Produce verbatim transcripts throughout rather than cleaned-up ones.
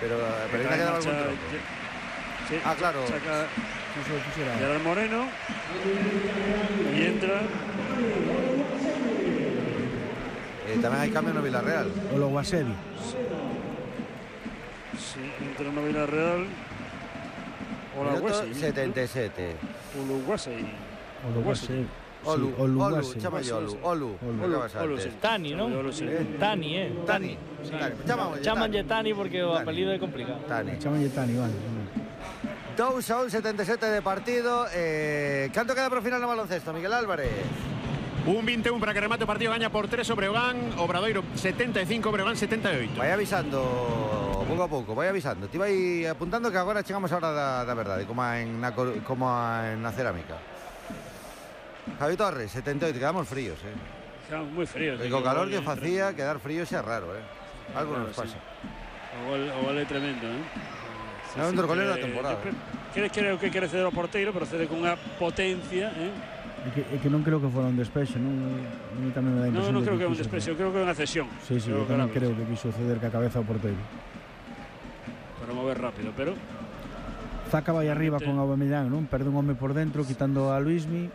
Pero, pero ainda quedaba algún trozo. Sí, ah, claro. Saca Gerard Moreno y entra. Eh, tamén hai cambio no Villarreal. O lo Guasevi. Sí, entra no Villarreal. Hola, setenta y siete. Uluguasei. Uluguasei. Olu, Olu, chama Olu, Olu, Olu. Tani, ¿no? Tani, eh. Tani. Chámanlle Tani porque o apelido é complicado. Tani. Chámanlle Tani, vale. dous a un, setenta y siete de partido. Eh, ¿Canto queda para o final no baloncesto, Miguel Álvarez? Un vinte e un para que remate o partido, gaña por tres o Breogán, Obradoiro setenta e cinco, Breogán setenta e oito. Vai avisando pouco a pouco, vai avisando. Ti vai apuntando que agora chegamos a hora da, da verdade, como en na, como en na cerámica. Javi Torres, setenta e oito, quedamos fríos, eh. Quedamos moi fríos. E co calor que facía, quedar fríos é raro, eh. Algo claro, nos pasa. Sí. O gol, o gol é tremendo, eh. Sí, é un torcolero da temporada. Creo, creo que quere ceder ao porteiro, pero cede con unha potencia, eh. É que, é que non creo que fora un despexe, non, non tamén me dá impresión. Non, non creo que é un quiso, despexe, eu creo que é unha cesión. Sí, sí, eu tamén creo que quiso ceder ca cabeza ao porteiro. Para mover rápido, pero Zaka vai arriba con Aubameyang, non? Perde un home por dentro, quitando a Luismi.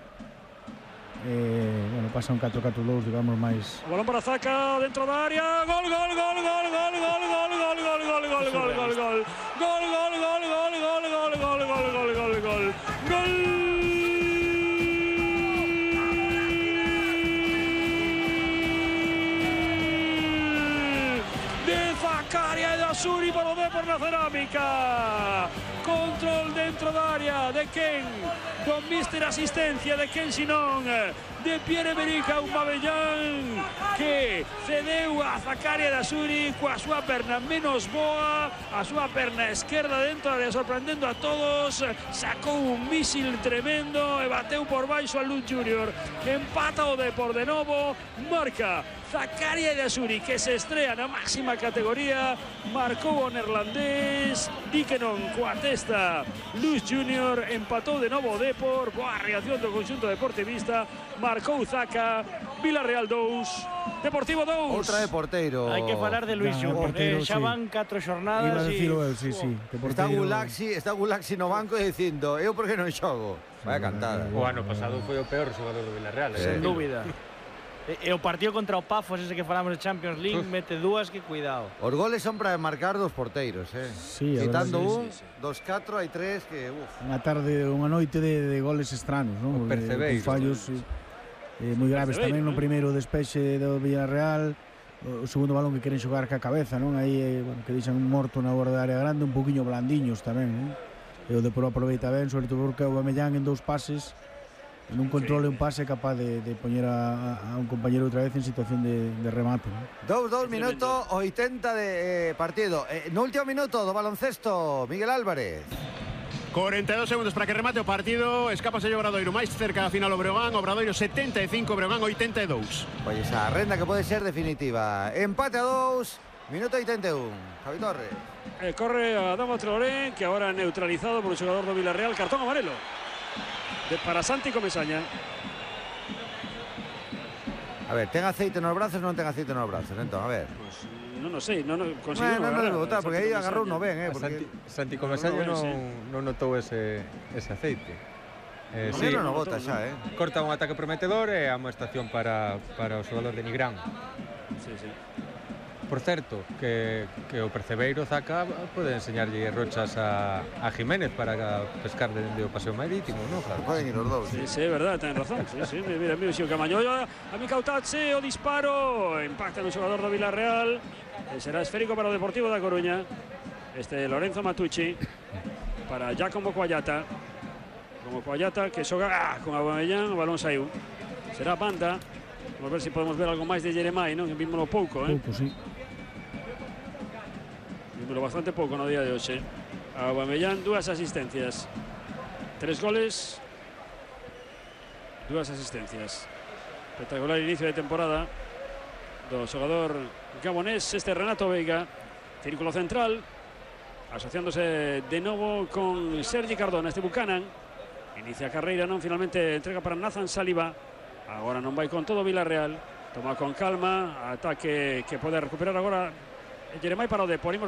Eh, bueno, pasa un catro catro dous, digamos, máis. O balón para Zaka dentro da área. Gol, gol, gol, gol, gol, gol, gol, gol, gol, gol, gol, gol, gol, gol, gol. Gol, gol, gol, gol, gol, gol, gol, gol, gol, gol, gol. Gol. Zakaria e Asuri para o Depor na cerámica. Control dentro da área de Ken, con mister asistencia de Ken Sinón, de Pierre-Emerick Aubameyang, que cedeu a Zakaria e Asuri coa súa perna menos boa, a súa perna esquerda dentro da área, sorprendendo a todos. Sacou un mísil tremendo e bateu por baixo a Luz Junior. Empata o Depor de novo, marca Zakaria e Asuri, que se estrea na máxima categoría. Marcou o neerlandés, di que non coa testa Luz Junior. Empatou de novo o Depor. Boa reacción do conxunto deportivista. Marcou Zaka. Villarreal dous, Deportivo dous. Outra de porteiro. Hai que falar de Luis Junior. Eh, xa van catro xornadas e eu, sí, sí. Está Gulaxi, está Gulaxi no banco dicindo, eu por que non xogo? Vaya cantada. O ano pasado foi o peor xogador do Villarreal. Sen dúbida. E o partido contra o Pafos, ese que falamos de Champions League, Uf. mete dúas que cuidado. Os goles son para marcar dos porteiros, eh. Sí, quitando un, sí, sí. dos catro, hai tres que, uf. Unha tarde, unha noite de, de goles estranos, non? Percebeiro. Fallos eh, moi graves tamén no primeiro despexe do Villarreal. O segundo balón que queren xogar ca cabeza, non? Aí, eh, bueno, que deixan un morto na borda da área grande, un poquinho blandiños tamén, non? E o Depor aproveita ben, sobre todo porque o Aubameyang en dous pases, en un control e un pase capaz de, de poñer a, a un compañero outra vez en situación de, de remate, ¿no? Dous, dous minutos, oitenta de eh, partido. Eh, no último minuto do baloncesto, Miguel Álvarez. cuarenta y dos segundos para que remate o partido. Escapase o Obradoiro máis cerca da final o Breogán. Obradoiro setenta e cinco, Breogán oitenta e dous. Pois esa renda que pode ser definitiva. Empate a dous, minuto oitenta e un. Javi Torres. Eh, corre a Adama Traoré, que ahora neutralizado por o xogador do Villarreal. Cartón amarelo de para Santi Comesaña. A ver, ten aceite nos brazos ou non ten aceite nos brazos? Entón, a ver. Pues, non o sei, non conseguiu bueno, non debe botar, porque aí agarrou no ben, eh, Santi, porque Santi Comesaña non, non, non notou ese, ese aceite. Eh, no, sí, non o bota xa, eh. Corta un ataque prometedor e a amoestación para, para o xogador de Nigrán. Sí, sí. Por certo, que, que o percebeiro Zaka pode enseñarlle rochas a, a Jiménez para pescar dende o paseo marítimo, non? Claro, poden ir os dous. Sí, sí, é verdade, ten razón. Sí, sí, mira, mira, xo Camañolla, a mi Cautache, o disparo, impacta no xogador do Villarreal. E será esférico para o Deportivo da Coruña. Este Lorenzo Matucci para Giacomo Coallata. Como Coallata que xoga ah, con Aubameyang, o balón saiu. Será banda. Vamos ver se si podemos ver algo máis de Jeremai, non? Vímolo pouco, eh? Pouco, sí. Vímolo bastante pouco no día de hoxe. Aubameyang, dúas asistencias. Tres goles, dúas asistencias. Espectacular inicio de temporada do xogador gabonés, este Renato Veiga. Círculo central, asociándose de novo con Sergi Cardona, este Buchanan. Inicia a carreira, non? Finalmente entrega para Nathan Saliba. Agora non vai con todo Villarreal. Toma con calma, ataque que pode recuperar agora Jeremai para o Depor.